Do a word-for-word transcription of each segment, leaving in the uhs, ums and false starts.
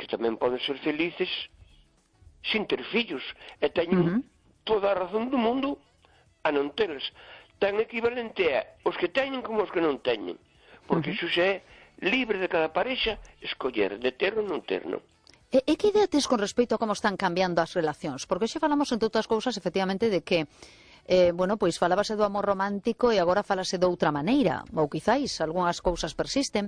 que tamén poden ser felices sin ter fillos, e teñen uh -huh. toda a razón do mundo a non teles. Tan equivalente é os que teñen como os que non teñen, porque uh -huh. iso xa é libre de cada parexa escoller de ter ou non ter, non? E, e que idea tes con respecto a como están cambiando as relacións? Porque xe falamos, entre outras cousas, efectivamente, de que eh, bueno, pois falábase do amor romántico e agora falase de outra maneira, ou quizáis algunhas cousas persisten,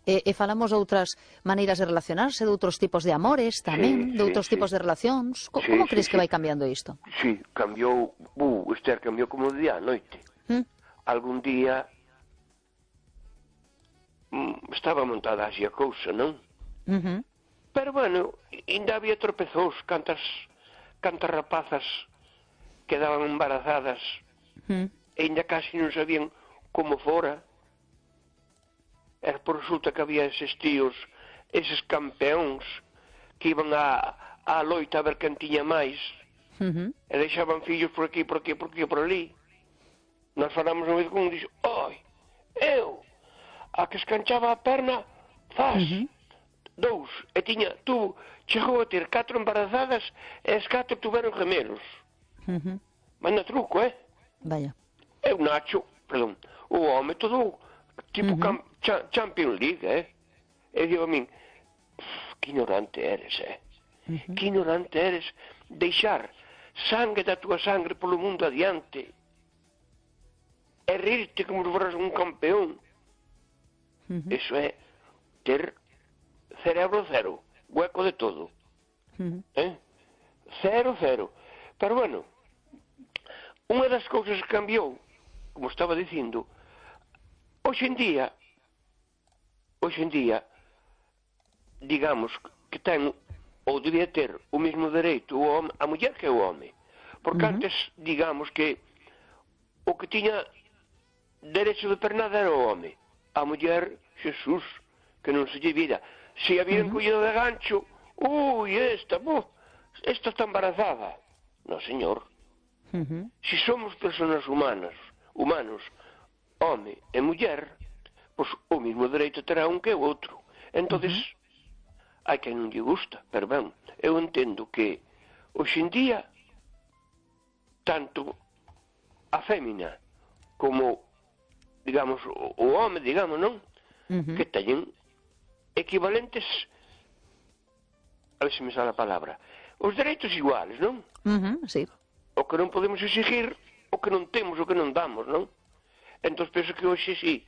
e, e falamos de outras maneiras de relacionarse, de outros tipos de amores tamén, sí, de outros sí, tipos sí. de relacións. Co sí, como sí, crees sí. que vai cambiando isto? Sí, cambiou, uh, Esther, cambiou como de día a noite. ¿Mm? Algún día mm, estaba montada así a cousa, non? Uh -huh. Pero, bueno, ainda había tropezós, cantas, cantas rapazas quedaban embarazadas mm. e ainda casi non sabían como fora. E por resulta que había eses tíos, eses campeóns que iban a, a loita a ver quen tiña máis uh -huh. e deixaban fillos por aquí, por aquí, por aquí, por ali. Nós falamos unha vez con un dixo, oi, eu a que escanchaba a perna faz uh -huh. dous, e tiña, tu chegou a ter catro embarazadas e as catro tuveron gemelos. Uh -huh. Manda truco, eh? Vaya. É o Nacho, perdón, o home todo tipo uh -huh. cha Champions League, eh? E digo a min, que ignorante eres, eh? Uh -huh. Que ignorante eres deixar sangue da tua sangre polo mundo adiante e rirte como se foras un campeón. Uh -huh. Eso é ter cerebro cero, hueco de todo. Uh -huh. eh? Cero, cero. Pero bueno, unha das cousas que cambiou, como estaba dicindo, hoxe en día, hoxe en día, digamos que ten, ou debía ter, o mesmo dereito o home, a muller que o home. Porque uh -huh. antes, digamos que o que tiña derecho de pernada era o home. A muller, Jesús, que non se lle vira. Se había uh -huh. collido de gancho, ui, esta, bo, esta está embarazada. No, señor. Uh -huh. Si somos personas humanas, humanos, home e muller, pois o mesmo dereito terá un que o outro. Entonces, uh -huh. hai que non lle gusta, pero ben, eu entendo que hoxe en día tanto a fémina como, digamos, o, o home, digamos, non? Uh -huh. Que teñen equivalentes, a ver se me sale a palabra, os dereitos iguales, non? Uh -huh, sí. O que non podemos exigir, o que non temos, o que non damos, non? Entón penso que hoxe sí,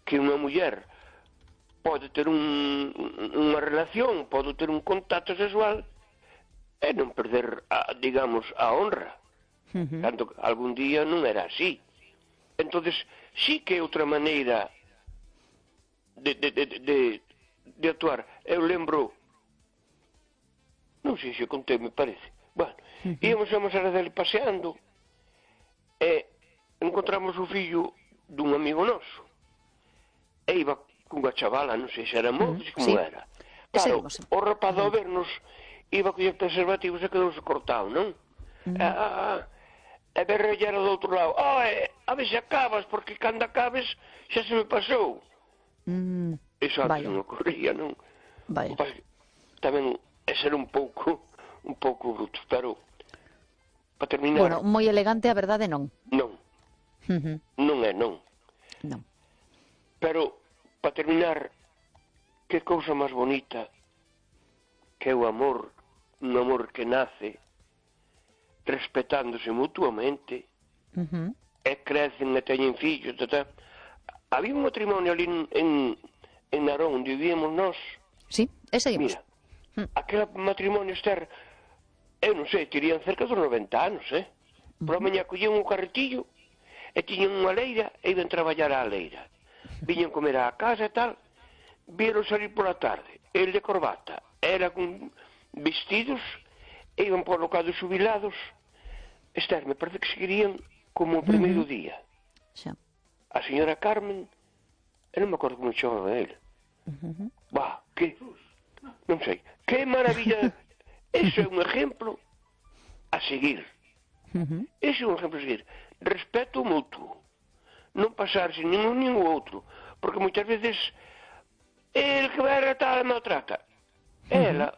que unha muller pode ter un, unha relación, pode ter un contacto sexual e non perder, a, digamos, a honra. Uh -huh. Tanto que algún día non era así. Entonces sí que é outra maneira de, de, de, de, de actuar. Eu lembro, non sei se contei, me parece. Bueno, uh -huh. íamos a Mosera dele paseando e encontramos o fillo dun amigo noso e iba cunha chavala, non sei se era mozo, uh -huh. como sí. era. Claro, o rapaz ao vernos iba a coller preservativos e quedouse cortado, non? Uh -huh. ah, ah, e berrellera do outro lado, oh, a ver se acabas, porque cando acabes xa se me pasou. Uh -huh. Iso antes non ocorría, non? Vaya. Tamén é ser un pouco un pouco bruto, pero para terminar... Bueno, moi elegante, a verdade, non. Non. Uh -huh. Non é, non. Non. Pero, para terminar, que cousa máis bonita que é o amor, un amor que nace respetándose mutuamente, uh -huh. e crecen e teñen fillos, tata. Había un matrimonio ali en, en, en Narón, onde vivíamos nós. Sí, e seguimos. Mira, uh -huh. aquel matrimonio, Esther, eu non sei, terían cerca dos noventa anos, eh? Por a mañá collían un carretillo e tiñan unha leira e iban traballar á leira. Viñan comer á casa e tal, vieron salir pola tarde, el de corbata, era con vestidos, e iban por locados xubilados. Esther, me parece que seguirían como o primeiro uh -huh. día. Xa. A señora Carmen, eu non me acordo como chamaba ele. Uh -huh. Bah, que, non sei, que maravilla. Eso é un exemplo a seguir. Uh -huh. Ese é un exemplo a seguir. Respeto mutuo. Non pasarse nin un nin o outro. Porque moitas veces el que vai a tratar maltrata. Uh -huh. Ela,